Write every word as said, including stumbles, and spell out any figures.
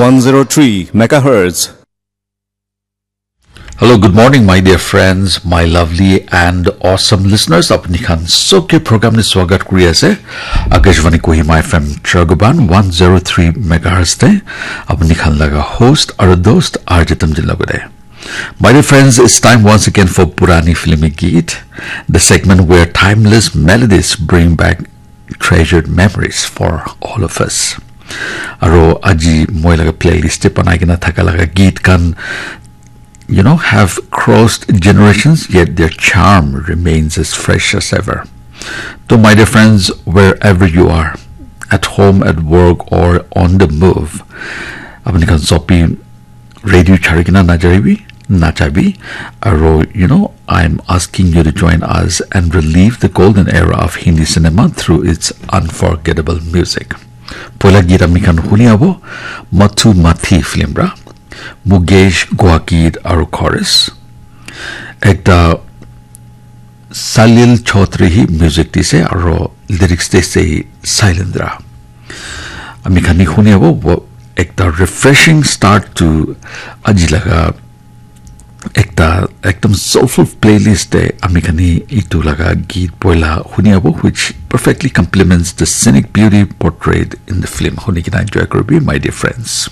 one zero three megahertz. Hello, good morning, my dear friends, my lovely and awesome listeners. Apni khan sob ke program ni swagat kuri ase. Akashvani Kohima F M Chaguban one zero three megahertz te. Apni khan laga host aru dost R J Tamjin lagode. My dear friends, it's time once again for Purani Filmi Geet, the segment where timeless melodies bring back treasured memories for all of us. Aro aji moi laga playlist te banai kena thaka laga geet khan, you know, have crossed generations, yet their charm remains as fresh as ever. So, my dear friends, wherever you are, at home, at work, or on the move, apni khan sob bi radio chari kena najaribi, nachabi. Aro, you know, I'm asking you to join us and relive the golden era of Hindi cinema through its unforgettable music. Poila geet ami khan huni abo Mathu Mathi film ra, Mukesh Guakid aru chorus. Ekta Salil Chaudhary hi music dise aro lyrics dise hi Sailendra. Ami khan hi huni abo wo- ekta refreshing start to aji laga ekta ekdam soulful playlist te ami khan hi itu laga geet poila huni abo, which perfectly complements the scenic beauty portrayed in the film. Huni kena enjoy koribi, my dear friends.